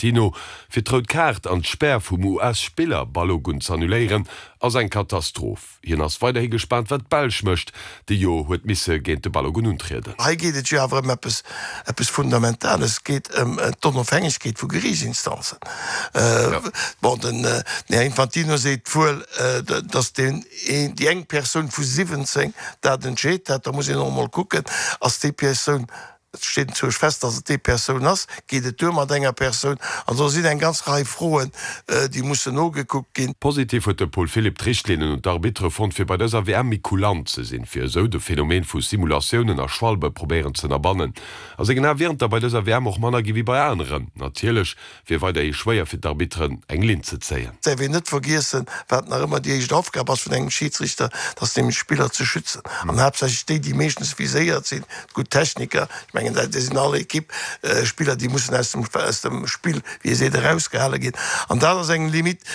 Infantino, fir d'rout Kaart an d'Spär vum US-Spiller Balogun z'annuléieren, ass eng Katastroph. Hien ass weiderhi gespaant, wat d'Belsch mécht, déi jo huet misse géint de Balogun untrieden. Hei geet et jo awer ëm eppes, eppes Fundamentales. Et geet ëm d'Onofhängegkeet vu Geriichtsinstanzen. Bon, den Här Infantino seet wuel, datt deen een, déi eng Persoun vu 17 dat entscheet hat. Da muss een och emol kucken, ass déi Persoun Et steet enzwousch fest, dass et déi Persoun ass. Geet et duer mat enger Persoun? An do sinn eng ganz Rei Froen, déi mussen nogekuckt ginn. Positiv huet de Paul Philipp d'Richtlinnen un d'Arbitere fonnt, fir bei dëser WM méi kulant ze sinn, fir esou de Phänomen vu Simulatiounen a Schwalbe probéieren z'ënnerbannen. A sengen Ae wieren et der bei dëser WM och manner gi wéi bei aneren. Natierlech Wier weiderhi schwéier fir d'Arbitteren eng Linn ze zéien. Et däerf een net vergiessen, wat nach ëmmer déi éischt Aufgab ass vun engem Schiedsrichter, dat ass nämlech d'Spiller ze schützen. An haaptsächlech déi, déi meeschtens viséiert sinn, d'gutt Techniker. Ech mengen, dat sinn all Equipe Spiller, déi mussen aus dem, aus dem Spill, wéi ee seet, erausgehale ginn. An dat ass eng Limite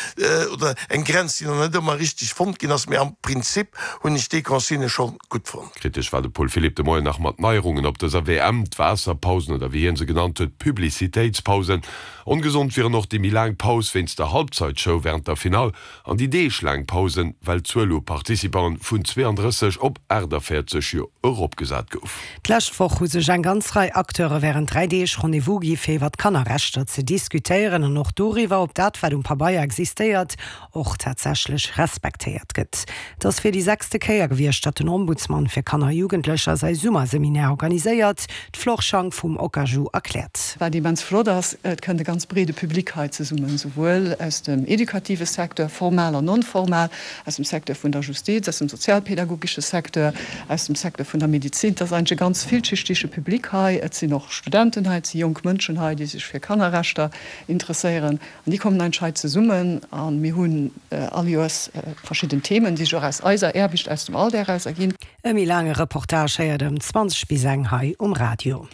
oder eng Grenz, déi nach net ëmmer richteg fonnt ginn ass. Mee am Prinzip hunn ech déi Consignë scho gutt fonnt. Kritesch war de Paul Philipp de Moien nach mat Neierungen op dëser WM, d'Waasserpausen oder wéi hien se genannt huet, Publicitéitspausen. Ongesond wieren och déi méi laang Paus wéinst der Halbzeitshow wärend der Finall an déi deeglaang Pausen, well d'Zuel u Participanten vun 32 op 48 jo eropgesat gouf. D'lescht Woch hu sech eng ganz Rei Acteure wärend 3 Deeg Rendez-vous gi fir iwwer d'Kannerrechter ze diskutéieren an och doriwwer, ob dat wat um Pabeier existéiert, och tatsächlech respektéiert gëtt. Et ass fir déi sechste Kéier gewiescht, datt den Ombudsman fir Kanner a Jugendlecher säi Summerseminaire organiséiert. D'Flore Schank vum OKAJU erkläert. Wat immens flott ass, et kënnt e ganz breede Public hei zesummen, souwuel aus dem educative Secteur, formal an non-formal, aus dem Secteur vun der Justiz, aus dem sozialpädagogesche Secteur, aus dem Secteur vun der Medizin. Et ass eigentlech e ganz villschichtige Public hei. Et sinn och Studenten hei, et si jonk Mënschen hei, déi sech fir Kannerrechter interesséieren. An déi kommen eigentlech hei zesummen a mir hunn all Joers verschidden Themen, déi sech och aus eiser Aarbecht, aus dem Alldag eraus erginn. E méi laange Reportage héiert ëm 20 bis eng hei um Radio.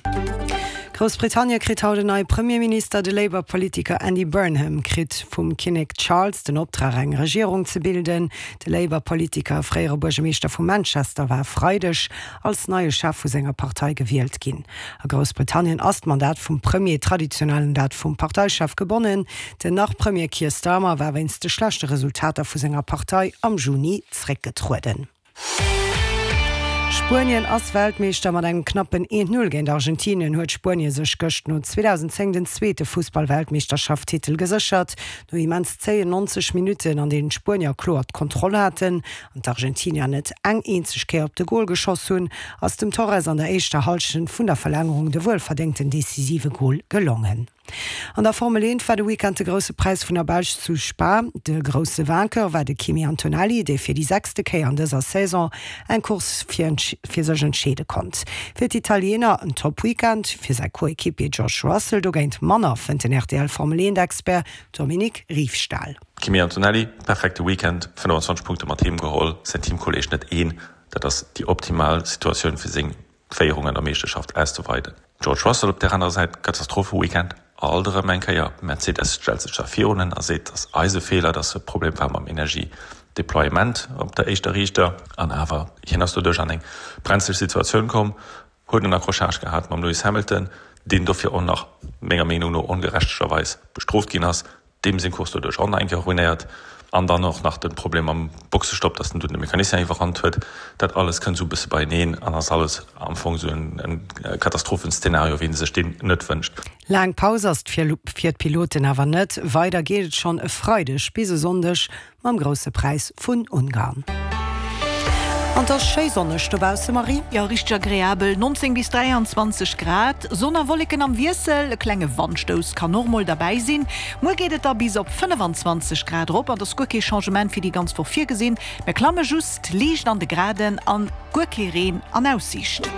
Groussbritannie kritt haut en neie Premierminister. De Labour-Politiker Andy Burnham kritt vum Kinnek Charles den Optrag eng Regierung ze bilden. De Labour-Politiker a fréiere Buergermeeschter vu Manchester war e Freideg als neie Chef vu senger Partei gewielt ginn. A Groussbritannien ass d'Mandat vum Premier traditionell un dat vum Parteichef gebonnen. Den Nach-Premier Keir Starmer war wéinst de schlechte Resultater vu senger Partei am Juni zréckgetrueden. Spuenien ass Weltmeeschter. Mat engem knappen 1, 0 géint Argentinien huet Spuenie sech gëscht no 2010 den zweete Fussball-Weltmeeschterschaft-Titel geséchert. No immens zéien 90 Minutten, an deenen d'Spuenier kloer d'Kontroll haten an d'Argentinier net eng eenzeg Kéier op de Gol geschoss hunn, ass dem Torres an der éischter Hallschent vun der Verlängerung de wuelverdéngten decisive Gol gelongen. An der Formel 1 war de Weekend de Grousse Präis vun der Belsch zu Spa. De grousse Vainqueur war de Kimi Antonelli, dee fir déi sechste Kéier an dëser Saison eng Course fir sech entscheede konnt. Fir d'Italiener en Top-Weekend, fir säi Coéquipier George Russell dogéint manner, fënnt den RTL-Formel- 1-Expert Dominique Riefstahl. Kimi Antonelli, perfekte Weekend, 25 Punkte mat heem geholl, säin Teamkolleeg net een. Dat ass déi optimal Situatioun fir seng Féierung an der Meeschterschaft auszeweiden. George Russell op där anerer Säit, Katastrophe-Weekend, alt erëm eng Kéier. Mercedes stellt sech da virun en a seet, et ass eise Feeler, dass e Problem war mam Energie-Deployement op der éischter Riichter. An awer, hien ass doduerch an eng brenzleg Situatioun komm, huet en Accrochage gehat mam Lewis Hamilton, deen dofir och nach menger Meenung no ongerechtegerweis bestrooft ginn ass. Deem seng Course doduerch och nach eng Kéier ruinéiert. An dann och nach de Problem mam Boxestopp, dass en dunn de Mecanicien iwwerrannt huet. Dat alles kënnt esou e bësse beieneen an ass alles am Fong esou en Katastrophenszenario, wéi ee sech deen net wënscht. Laang Paus ass et fir d'Piloten awer net. Weider geet et schonn e Freideg bis e Sonndeg Mam Grousse Präis vun Ungarn. An 't ass schéi sonneg dobausse, Marie. Jo, richteg agreabel, 19 bis 23 Grad, Sonn a Wolleken am Wiessel, e klenge Wandstouss kann och mol derbäi sinn. Muer geet et da bis op 25 Grad erop an et ass guer kee Changement fir déi ganz Woch virgesinn. Mir klamme just liicht an de Graden an guer kee Reen an Aussiicht.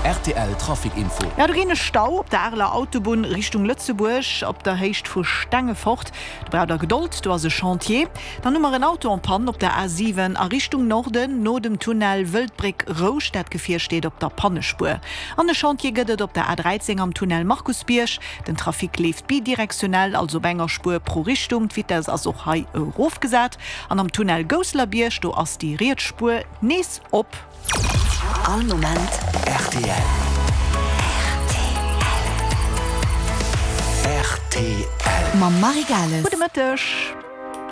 Rtl Trafic Info. Jo, do ginn e Stau op der Areler Autobunn Richtung Lëtzebuerg op der Héicht vu Stengefort. Do braucht der Gedold, do ass e Chantier. Dann hu mer en Auto en panne op der A7 a Richtung Norden, no dem Tunnel Wëldbréck Rousch. Dat Gefier steet op der Pannespuer. An e Chantier gëtt et op der A13 am Tunnel Markusbierg. Den Trafic leeft bidirektionell, also op enger Spuer pro Richtung. D'Vitess ass och hei erofgesat. An am Tunnel Gousselerbierg, do ass déi riets Spuer nees op. All Moment rtl. Rtl. Rtl. Mam Marie Gales. Gudde Mëtteg.